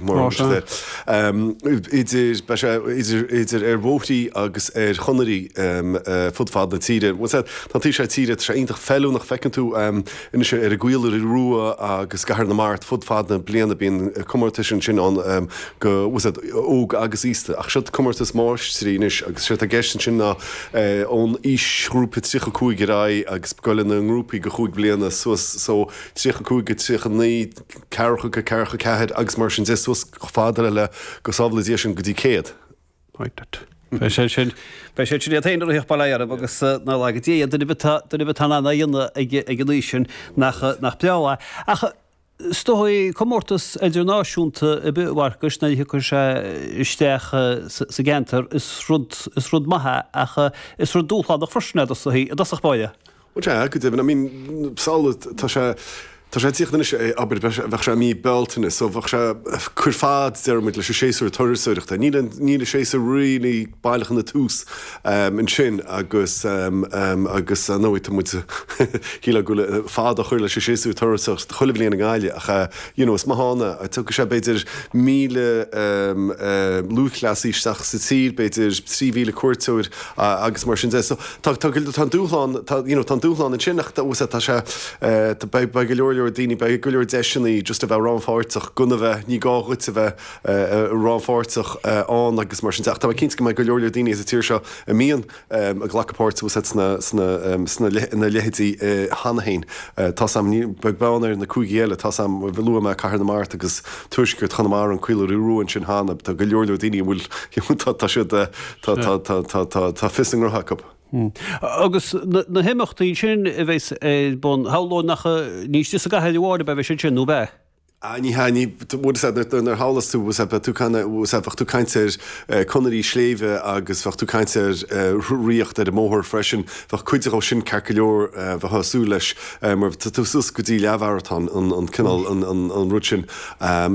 mar a thugtar air. Idir, beidh sé idir, idir ar bhóithrí agus ar chonairí fud fad na tíre. Bhuel, tá an taobh seo tíre, tá sé iontach feiliúnach, feiceann tú anois ar an gCaola Rua agus i gCathair na Mart fud fad na bliana bíonn comórtais ansin ann go, bhfuil a fhios agat, óg agus aosta. Ach seo comórtas máistrí anois agus séard atá i gceist ansin ná ón aoisghrúpa 35 ar aghaidh agus goil ina ngrúpaí go chúig bliana suas so 35 go 39, ceathracha go ceathracha ceathair agus mar sin de suas chomh fada le go sábhála Dia sinn go dtí 100. Beidh sé sin, beidh siad sin iad féin ag ritheacht bail ó Dhia orthu agus ná laga Dia iad, duine ar bith atá, duine ar bith atá in ann é a dhéanamh ag, ag an aois sin nach, nach breá é. Ach is dóigh comórtas idirnáisiúnta ar bith a Mharcais nuair a thiocfaidh sé isteach sa, sa gceantar is rud, is rud maith é ach is rud dúshlánach freisin é i dtosach báire. Bhuel sea, go deimhin. I mean, samhlaigh, tá sé, tá sé ag tíocht anois, abair, bheadh sé i mí Bealtaine, so bheadh sé, cuir fad, deir muid, leis an séasúr turasóireachta. Níl an, níl an séasúr really baileach ina tús ansin agus, agus ar ndóigh tá muid, shílfeá go bhfuil fad á chur leis an séasúr turasóireachta chuile bhliain i nGaillimh ach, you know, is maith ann é. Tiocfaidh sé b'fhéidir 1,000 lúthchleasaí isteach sa tír, b'fhéidir 3,000 cuairteoir agus mar sin de. So, Tá, tá, tá an dúshlán, tá, you know, tá an dúshlán ansin ach tá, tá sé, tá, beidh, beidh go leor leor daoine, beidh go leor deiseanna just a bheith rannpháirteach, gan a bheith, ní gá dhuit a bheith rannpháirteach ann agus mar sin de ach tá mé cinnte go mbeidh go leor leor daoine sa tír seo a mbíonn ag glacadh páirt bhfuil a fhios agat sna, sna, sna, na leithéidí cheana féin. Tá 's a'm, ní, beag beann ar na cúigí eile, tá 's a'm, luaigh mé Cathair na Mart agus Tuaisceart Chonamara, an Caola Rua ansin cheana, tá go leor leor daoine a bhfuil, tá, tá siad, Tá, tá, tá, tá, tá, tá fios a ngnótha acu. Agus na himeachtaí sin a bheas ar bun, shamhlóinn nach, ní istigh sa gcathair amháin a bheidh siad sin, nó ab ea? Ah, ní hea, ní, bhfuil a fhios agat, nuair a shamhlós tú, bhfuil a fhios agat, beidh tú ag, bhfuil a fhios agat, bheadh tú ag caint ar conairí sléibhe agus bheadh tú ag caint ar rothaíocht ar an mbóthar freisin, bheadh cuid dhó sin ceart go leor, bheifeá ag súil leis, mar tá tú suas go dtí leathmharatón, an, an cineál, an, an, an rud sin.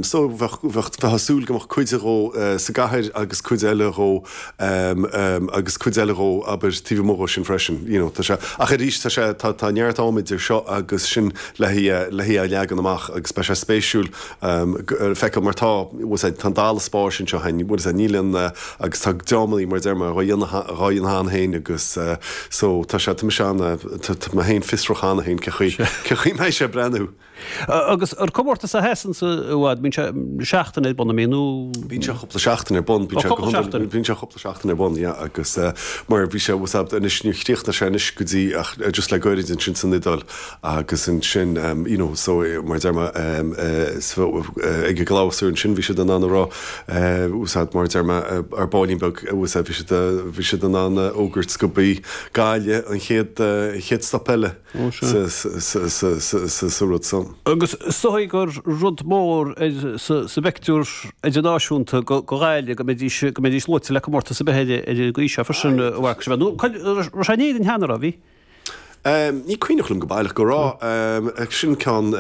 So bheadh, bheadh, bheifeá ag súil go mbeadh cuid dhó sa gcathair agus cuid eile dhó, agus cuid eile dhó, abair, taobh amuigh dhó sin freisin, you know, tá sé, ach arís tá sé, tá, tá neart ama idir seo agus sin le hé, le hé a leagan amach agus beidh sé spéisiúil feiceáil mar tá, bhfuil a fhios agat, tá an dalladh spáis anseo againn, bhfuil a fhios agat, níl aon, agus tá dreamanna mar a deir mé dhá dhéanamh, dhá dhéanamh cheana féin agus so tá sé, tá mise ana, tá, tá mé féin fiosrach cheana féin cé chaoi, cé chaoi mbeidh sé ag breathnú. Agus an comórtas a sheasann i bhfad, bíonn sé seachtain ar bun, an mbíonn, nó? Bíonn sé cúpla seachtain ar bun, bíonn sé go hiondúil, bíonn sé cúpla seachtain ar bun, yeah, agus mar bhí sé, bhfuil a fhios agat, anois níor chríochnaigh sé anois go dtí ach just le goirid ansin san Iodáil agus ansin you know so mar a deir mé ag an gclabhsúr ansin bhí siad in ann a rá bhfuil a fhios agat mar a deir mé ar baillín beag bhfuil a fhios agat bhí siad bhí siad in ann a fhógairt go b'í Gaillimh an chéad chéad stop eile. sa rud san. Agus is dóigh gur rud mór sa bpictiúr idirnáisiúnta go Ghaillimh go mbeidís go mbeidís luaite le comórtas ar bith ar an gcaoi seo freisin a Mharcais. Nó raibh sé in Éirinn cheana, raibh? Bhí? Ní cuimhneach liom go baileach go raibh. Sin ceann,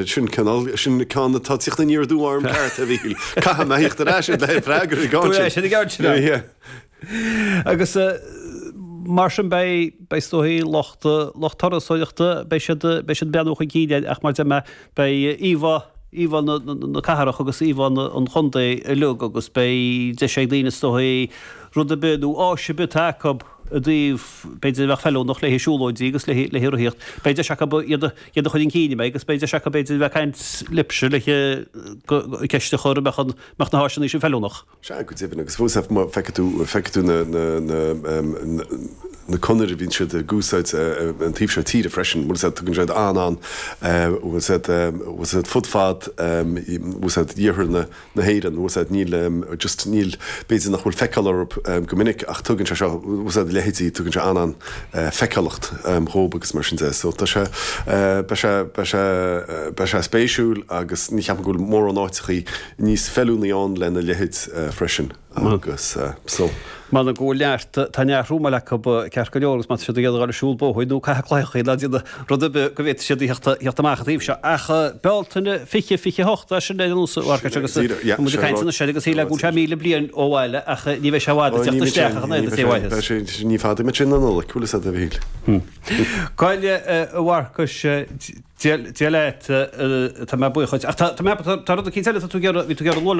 sin cineál, sin ceann atá ag tíocht aniar aduaidh orm ceart, a Mhíchíl. Caithfidh mé thíocht ar ais le freagra ar an gceann sin. Agus mar sin beidh, beidh is dóigh lucht, lucht turasóireachta, beidh siad, beidh siad ag breathnú chun cinn air ach mar a deir mé, beidh íomhá, íomhá na, na, na cathrach agus íomhá na, an chontae uilig agus beidh deis ag daoine is dóigh rud ar bith nó áis ar bith atá acu i dtaobh, b'fhéidir a bheadh feiliúnach le haghaidh siúlóidí agus le haghaidh, le haghaidh rothaíocht, beidh deis acu iad a, iad a chur chun cinn, an mbeidh, agus beidh deis acu b'fhéidir a bheith ag caint libhse le ceist a chur an mbeadh an, mbeadh na háiseanna sin feiliúnach. Sea, go deimhin, agus fós, má feicfidh tú, feicfidh tú na, na, na, na conairí a bhíonn siad ag úsáid an taobh seo tíre freisin, bhfuil a fhios agat, tugann siad an-an, bhfuil a fhios agat, bhfuil a fhios agat, fud fad, bhfuil a fhios agat, iarthar na, na hÉireann, bhfuil a fhios agat, níl, just níl, b'fhéidir nach bhfuil feiceáil orthu go minic ach tugann sé seo, bhfuil a fhios agat, a leithéidí, tugann sé an-an feiceálacht dhóibh agus mar sin de. So tá sé, beidh sé, beidh sé, beidh sé spéisiúil agus ní cheapaim go bhfuil mórán áiteachaí níos feiliúnaí ann lena leithéid freisin agus so. M'anam go bhfuil neart, tá neart rúmáil acu ceart go leor agus má tá siad ag iarraidh a dhul ag siúl bóthair nó caitheamh claíochaí ná déanamh rud ar bith go bhféadfaidh siad a theacht amach an taobh seo. Ach Bealtaine 20, 28, é sin ar an nós a Mharcais agus tá muid ag caint anois air agus shílfeá go bhfuil sé 1,000 bliain ó bhaile ach ní bheidh sé i bhfad ag teacht isteach ach an oiread is é uaidh. Ní fada muid sin an Nollaig, bhfuil a fhios agat a Mhíchíl. Gabh i leith a Mharcais. Dia leat, tá mé buíoch duit. Ach tá, tá mé, tá rud eicínt eile atá tú ag iarraidh, bhí tú ag iarraidh a lua liom.